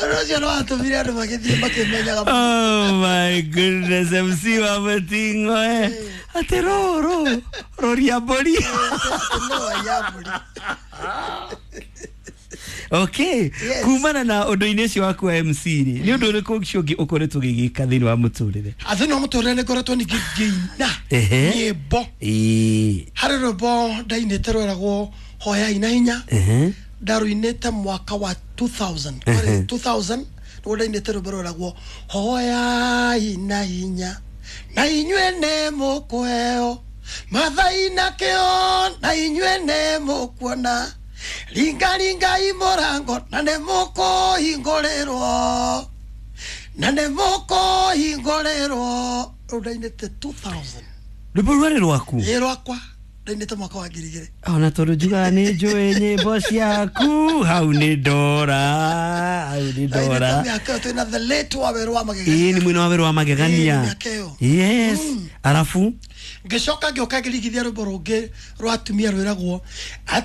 Rũcio rwatũmire andũ magĩthiĩ makĩmenyaga. Oh my goodness, MC wa Mutingo, eh. Atĩ rũ rũ roria mbũri. No ya mbũri. Okay. Yes. Kumana na ũndũ-inĩ ũcio waku wa MC rĩ, nĩ ũndũ ũrĩkũ ũcio ũngĩ ũkoretwo ũgĩgĩka thĩinĩ wa mũtũrĩre? Thĩinĩ wa mũtũrĩre nĩ ngoretwo ningĩ ngĩina nyĩmbo. Harĩ rwĩmbo ndainĩte rweragwo Hoyai na Hinya. Ndarũinĩte mwaka wa 2000. Kwarĩ 2000 nĩguo ndainĩte rwĩmbo rweragwo Hoyai na Hinya na inyuĩ nĩ mũkũheo, mathai na kĩo na inyuĩ nĩ mũkuona, ringaringai mũrango na nĩ mũkũhingũrĩrwo, na nĩ mũkũhingũrĩrwo. Rũu ndainĩte 2000. Rwĩmbo rwarĩ rwaku? Ĩ, rwakwa, ndainĩte mwaka wa 2000. Ona tondũ njugaga nĩ njũĩ nyĩmbo ciaku, hau nĩ ndora, hau nĩ ndora. Ndainĩte mĩaka ĩyo twĩna the late wa Werũ wa Magegania. Ĩĩ, nĩ mwena wa Werũ wa Magegania. Ĩĩ, mĩaka ĩyo. Yes. Arabu Ngĩcoka ngĩũka ngĩrigithia rwĩmbo rũngĩ rwa atumia rwĩragwo